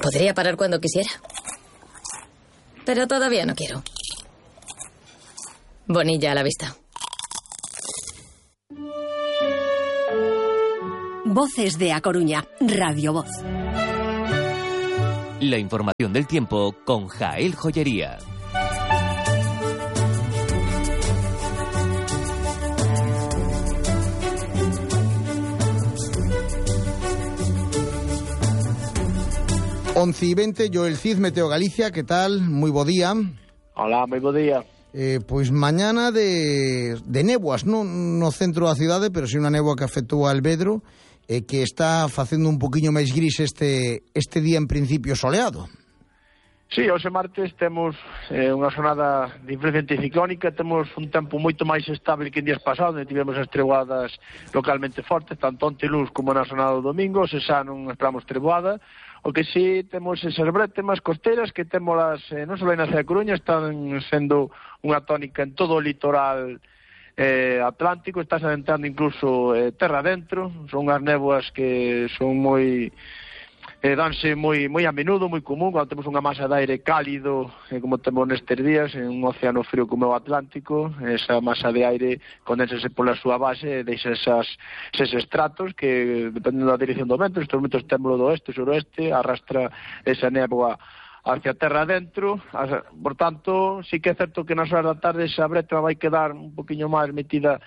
Podría parar cuando quisiera. Pero todavía no quiero. Bonilla a la vista. Voces de A Coruña, Radio Voz. La información del tiempo con Jael Joyería. Once y 20, Joel Cid, Meteo Galicia, ¿qué tal? Muy bo día. Hola, moi bo día. Pois mañana de néboas, non no centro da cidade, pero si unha néboa que afectou a Alvedro, que está facendo un poquinho máis gris este día en principio soleado. Sí, hoxe martes temos unha xornada de influencia anticiclónica, temos un tempo moito máis estable que en días pasados, onde tivemos as treboadas localmente fortes, tanto onte luz como na xornada do domingo, se xa non esperamos treboada. O que sí temos esas brétemas costeras que témolas non só na cidade de Coruña, están sendo unha tónica en todo o litoral atlántico, está se adentrando incluso terra adentro. Son unhas néboas que son moi danse moi a menudo, moi común, cando temos unha masa de aire cálido, como temos nestes días, en un océano frío como o Atlántico. Esa masa de aire condensase pola súa base e deixa eses estratos que, dependendo da dirección do vento, estes momentos temos do oeste, suroeste, arrastra esa néboa hacia terra adentro. Por tanto, sí que é certo que nas horas da tarde esa breta vai quedar un poquinho máis metida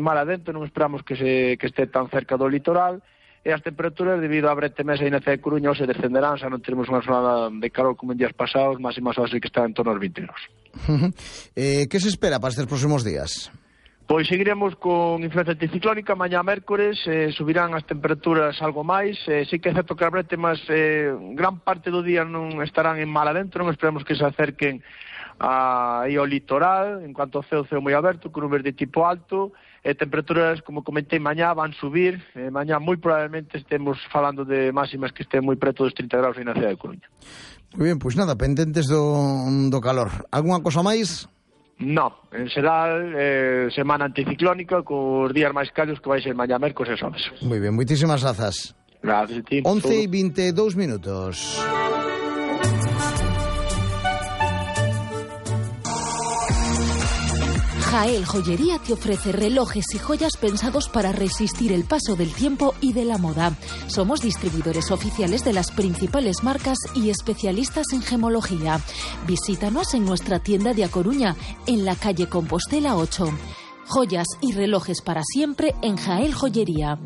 mar adentro, non esperamos que este tan cerca do litoral. E as temperaturas, debido á brete mesa e na cidade de Coruña, se descenderán, xa non teremos unha xornada de calor como en días pasados, máximas horas que están en torno aos 20 graus. Que se espera para estes próximos días? Pois seguiremos con influencia anticiclónica. Mañá mércores subirán as temperaturas algo máis. Sí que é certo que as bretemas gran parte do día non estarán en mar adentro, non esperemos que se acerquen aí ao litoral, en cuanto ao ceo moi aberto, con nubes de tipo alto. Temperaturas, como comentei, mañá van subir. Mañá moi probablemente estemos falando de máximas que estén moi preto dos 30 graus na cidade de Coruña. Moi ben, pois nada, pendentes do calor. Algúnha cosa máis? No, en xeral, semana anticiclónica, cos días máis cálidos que vai ser mañá mércores e xoves. Moi ben, moitísimas grazas. Gracias a ti. 11 e 22 minutos. Jael Joyería te ofrece relojes y joyas pensados para resistir el paso del tiempo y de la moda. Somos distribuidores oficiales de las principales marcas y especialistas en gemología. Visítanos en nuestra tienda de A Coruña, en la calle Compostela 8. Joyas y relojes para siempre en Jael Joyería.